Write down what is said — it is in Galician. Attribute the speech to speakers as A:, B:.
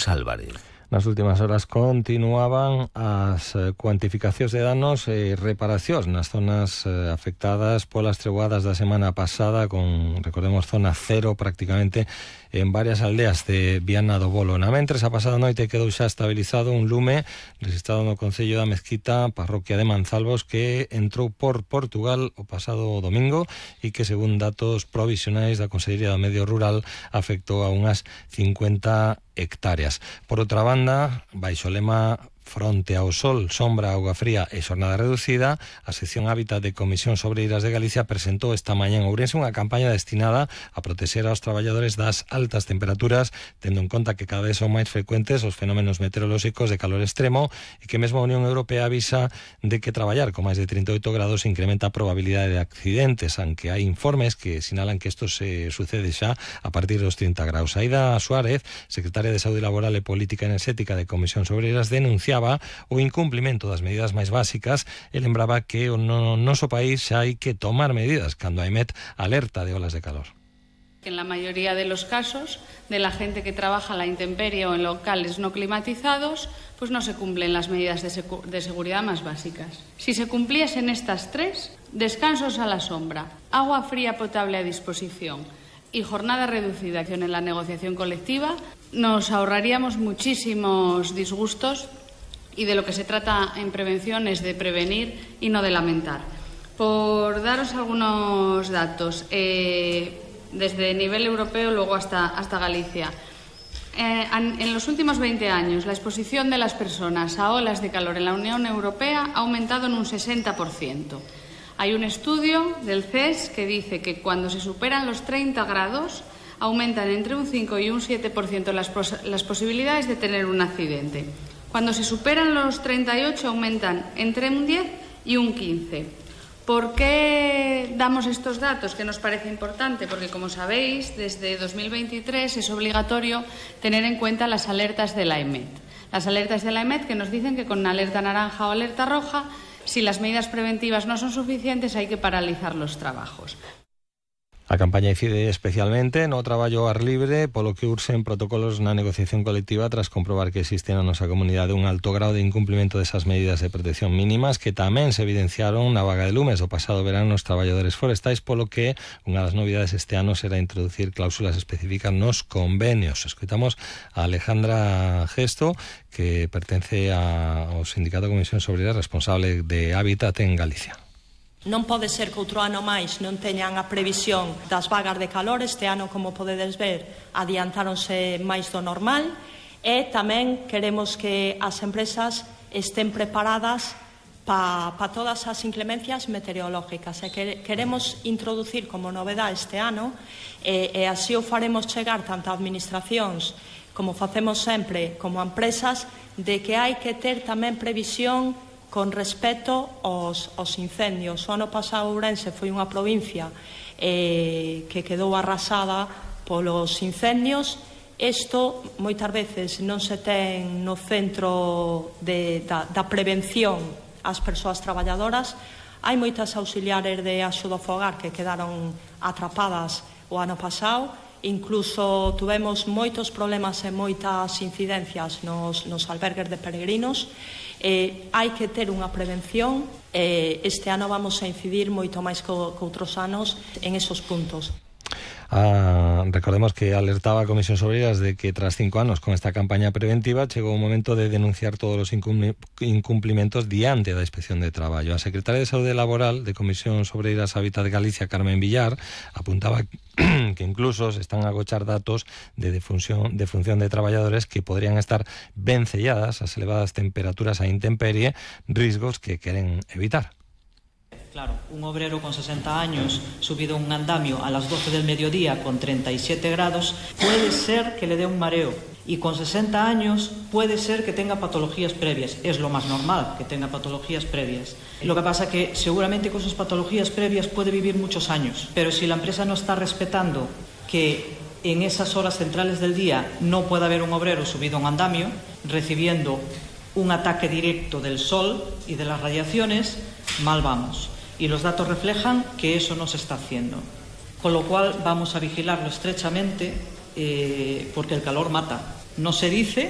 A: Álvarez.
B: Nas últimas horas continuaban as cuantificacións de danos e reparacións nas zonas afectadas polas treboadas da semana pasada, con, recordemos, zona cero prácticamente en varias aldeas de Viana do Bolo. Na mentres, a pasada noite quedou xa estabilizado un lume registrado no concello da Mezquita, parroquia de Manzalbos, que entrou por Portugal o pasado domingo e que, según datos provisionais da Consellería do Medio Rural, afectou a unhas 50 hectáreas. Por outra banda, baixo o lema Fronte ao Sol, Sombra, Auga Fría e Xornada Reducida, a sección Hábitat de Comisións Obreiras de Galicia presentou esta mañá en Ourense unha campaña destinada a protexer aos traballadores das altas temperaturas, tendo en conta que cada vez son máis frecuentes os fenómenos meteorolóxicos de calor extremo e que mesmo a Unión Europea avisa de que traballar con máis de 38 grados incrementa a probabilidade de accidentes, aunque hai informes que sinalan que isto se sucede xa a partir dos 30 graus. Aida Suárez, secretaria de Saúde Laboral e Política Enerxética de Comisións Obreiras, denunciaba o incumplimento das medidas máis básicas e lembraba que no noso país xa hai que tomar medidas cando a EMET alerta de olas de calor.
C: En la mayoría de los casos de la gente que trabaja a la intemperie o en locales no climatizados, pues no se cumplen las medidas de seguridad más básicas. Si se cumpliesen estas tres, descansos a la sombra, agua fría potable a disposición y jornada reducida en la negociación colectiva, nos ahorraríamos muchísimos disgustos. Y de lo que se trata en prevención es de prevenir y no de lamentar. Por daros algunos datos, desde nivel europeo luego hasta Galicia, en los últimos 20 años la exposición de las personas a olas de calor en la Unión Europea ha aumentado en un 60%. Hay un estudio del CES que dice que cuando se superan los 30 grados aumentan entre un 5 y un 7% las posibilidades de tener un accidente. Cuando se superan los 38 aumentan entre un 10 y un 15. ¿Por qué damos estos datos? Que nos parece importante, porque como sabéis, desde 2023 es obligatorio tener en cuenta las alertas de la EMET. Las alertas de la EMET que nos dicen que con alerta naranja o alerta roja, si las medidas preventivas no son suficientes, hay que paralizar los trabajos.
B: A campaña incide especialmente no traballo ao ar libre, polo que urxen protocolos na negociación colectiva tras comprobar que existe na nosa comunidade un alto grau de incumplimento desas medidas de protección mínimas que tamén se evidenciaron na vaga de lumes do pasado verán nos traballadores forestais, polo que unha das novidades este ano será introducir cláusulas específicas nos convenios. Escoitamos a Alejandra Gesto, que pertence ao Sindicato de Comisións Obreiras responsable de Hábitat en Galicia.
D: Non pode ser que outro ano máis non teñan a previsión das vagas de calor. Este ano, como podedes ver, adiantáronse máis do normal e tamén queremos que as empresas estén preparadas para todas as inclemencias meteorológicas e queremos introducir como novedade este ano e así o faremos chegar tanto a administracións como facemos sempre como a empresas de que hai que ter tamén previsión con respecto aos incendios. O ano pasado Ourense foi unha provincia que quedou arrasada polos incendios. Isto moitas veces non se ten no centro da prevención ás persoas traballadoras. Hai moitas auxiliares de axuda ao fogar que quedaron atrapadas o ano pasado. Incluso tuvemos moitos problemas e moitas incidencias nos albergues de peregrinos. Hai que ter unha prevención. Este ano vamos a incidir moito máis que outros anos en esos puntos.
B: Recordemos que alertaba a Comisións Obreiras de que tras 5 anos con esta campaña preventiva chegou o momento de denunciar todos os incumplimentos diante da Inspección de Traballo. A secretaria de Saúde Laboral de Comisións Obreiras Hábitat de Galicia, Carmen Villar, apuntaba que incluso se están a agochar datos de defunción de traballadores que podrían estar vencelladas ás elevadas temperaturas a intemperie, riscos que queren evitar.
E: Claro, un obrero con 60 años subido a un andamio a las 12 del mediodía con 37 grados, puede ser que le dé un mareo. Y con 60 años puede ser que tenga patologías previas. Es lo más normal que tenga patologías previas. Lo que pasa que seguramente con sus patologías previas puede vivir muchos años. Pero si la empresa no está respetando que en esas horas centrales del día no puede haber un obrero subido a un andamio, recibiendo un ataque directo del sol y de las radiaciones, mal vamos. Y los datos reflejan que eso no se está haciendo. Con lo cual vamos a vigilarlo estrechamente porque el calor mata. no se dice